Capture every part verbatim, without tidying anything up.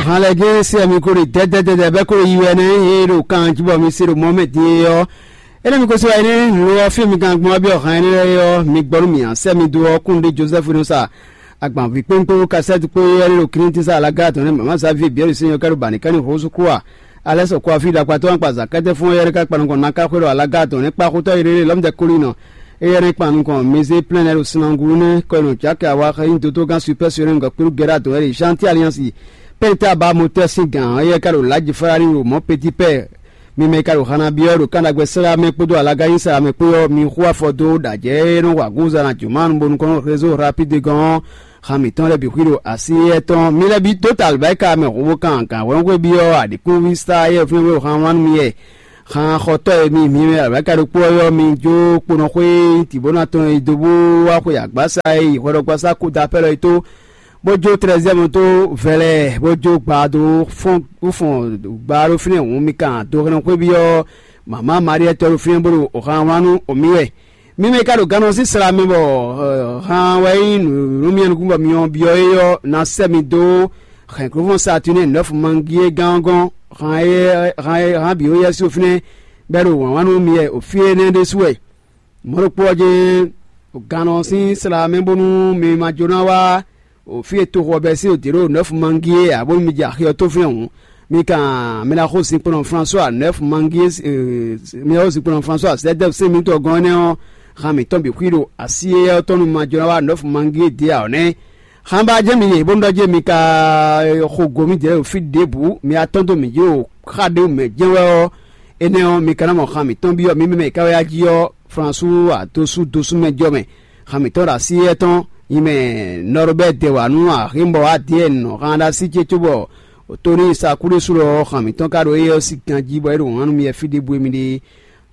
Hàn lɛ gé sɛ mi kó ɖe dɛdɛdɛdɛ bɛ kó ɖe yi wɛ nɛ, e ɖo kan jí bɔ mi se ɖo mɔ mɛ din é ɔ́. Énɛ́ mi ko se wá énɛ́ lo ɔ́ fí mi kan gbɔn byɔ́ hàn énɛ́ lɛ́ɛ ɔ́, mi gbɔ nú mì ǎ, sɛ mi dó ɔ́ kún ɖé Josɛ́fu nɔ sa agbanví kpéŋkpéŋ kasɛ́ti kpó éyɛ́ ɖo Klíntisa alaga tɔn nɛ́ mama Xavier Biɛ́li sɛ́n yɔ́ ká ɖo bani ká ní hǒsú kú a. Alɛ́ sɔkú afí ɖakpatɔ́ akpa zǎkɛ́tɛ́ fún éyɛ́ ká kpa nukɔn ná ká xwé ɖo alaga tɔn nɛ́ kpá xótɔ́ yi ɖé lɔ́mdɛ kólí nɔ. Éyɛ́ nɛ́ kpa nukɔn Mezé plɛ́n lɛ́ ɖo Sinangulu nɛ́ kɔ nɔ Jaki awa xɛ́ nyí dótó gán supɛ́ sɔ́ nɛ́ nukɔn kpéɖú gɛ́ɖá dɔn wɛ ɖe Xanti Aliansi pɛ́nta ba motɛ́ sín gǎn éyɛ́ ká ɖo lǎjifláni ɖo mɔ̌ Petipɛ́ɛ. Mi mɛ e ka ɖo Xanabi ɔ́ ɖo kánɖagbe sɛ́ mɛ kpódó alagáyísá mɛ kpó ɔ́, mi xú afɔ dó ɖo ajɛ̌ e nɔ wa gúnza ná jǒ ma nu bónú kɔn rézo rapide gɔn ɔ́, xan mǐtɔn lɛ́ɛ bǐ xwí ɖo así éyɛ́ tɔn. Mi lɛ́ bǐ dó ta alɔ̌báyíká mɛ hǒnvó kan gǎnhwɛ́nxwé byɔ́ aɖǐkúnví sá éyɛ́ fínɛ́ wɛ xan wá nú mi yɛ. Xan xɔtɔ́ e mi mi mɛ alɔ̌báyíká ɖokpó ɔ́ ylɔ́ mi jó kponɔxwé tǐbónɔ tɔn e dó bó wá xwe agbǎsa e yi hwɛɖɔgbasá kúdapɛ́lɔ é tó, bó jó tlɛzɛ́mu dó vɛlɛ, bó jó gba dó fɔ́n bó fɔn gba ɖó fínɛ́ hǔn mi kan do hɛn xwé byɔ́ mama Maríɛ tɔ́ ɖo fínɛ́ bó ɖo xan wlán nú mǐ wɛ. Mi mɛ ka ɖo gannɔ sín sla mɛ bɔ han wɛ nyí nǔ nú mi nukún bɔ mi ɔ́ byɔ́ é ɔ́ ná sɛ́ mi dó hɛ̌nklófɔ́n Satunɛ́ɛ nɔ́fu mangi e gán ɔ́ gɔ́n, han e han e han bǐ ó yɛ́ sín fínɛ́ bɔ é ɖo wǎn wá nú mi wɛ o fí énɛ́ ɖésú wɛ. Mɔ̌ ɖokpó ɔ́ jɛ́n gannɔ sín sla mɛ bónú mi ma jó ná wá o fí e toxo ɔ́ bɛ́ sín o dě ɖo nɔ́fu mangi é ǎ, bónú mi jɛ axi ɔ́ tó fínɛ́ hǔn. Mi kan mi ná xo zinkpɔ́nɔ François nɔ́fu mangi é, mi ná xo zinkpɔ́nɔ François zɛ́dɛ́ sɛ́n mitɔn gɔ́n énɛ́ ɔ́, han mǐtɔn bǐ xwí ɖo así éyɛ́ ɔ́ tɔn nú ma jó ná wá nɔ́fu mangi é dě ǎ ɔ́ nɛ́. Xan ba jɛ́n mi yě bónú ɖɔ jɛ́n mi ka xo go mì jɛ ɖo fí ɖěbǔ, mi atɔ́n dó mǐ jí ɖo xá ɖé mɛ jɛ́n wɛ ɔ́, énɛ́ ɔ́, mi ka ná mɔ xan mǐtɔn byɔ́ mǐ mɛ mɛ e ka wɛ yá jí ɔ́, Flansú adosú dosú mɛ jɔ mɛ. Xan mǐtɔn ɖo así éyɛ́ tɔn nyi mɛ Nɔrobɛ́ɛ dɛ wǎ nú Aximbɔ Adiyɛ́ɛn nɔ han ɖo así ce cóbɔ Tonii Sakúɖésú lɔ ɔ́, xan mǐtɔn ka ɖo éyɛ́ ɔ́ sí ganjí bɔ é ɖo hǎn nú mi wɛ fí ɖěbǔ e mi ɖe é.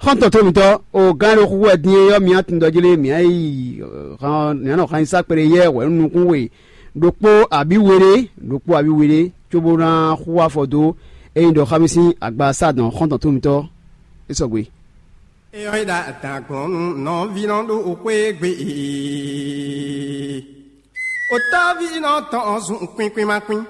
Xɔ́ntɔn towe mǐtɔn, o gán e ɖo xúxú wɛ din é ɔ́, mi ná tun ɖɔ jí lé mǐ ná yi mǐ ná nɔ han nyi sá kpɛɖé yɛ hwɛ̌ nú nukún we ɖokpó abǐ we ɖé, ɖokpó abǐ we ɖé, cóbó ná xú afɔ dó ényí ɖɔ xá mì sín agba sá dɔn xɔ́ntɔn towe mǐtɔn é sɔgbe. É ɔ́, é ɖo adǎn gblɔ́n nú nɔví nɔ ɖo xwé gbe ee. Otɔ́ví nɔ tɔn ɔ́ zun kwín kwín má kwín.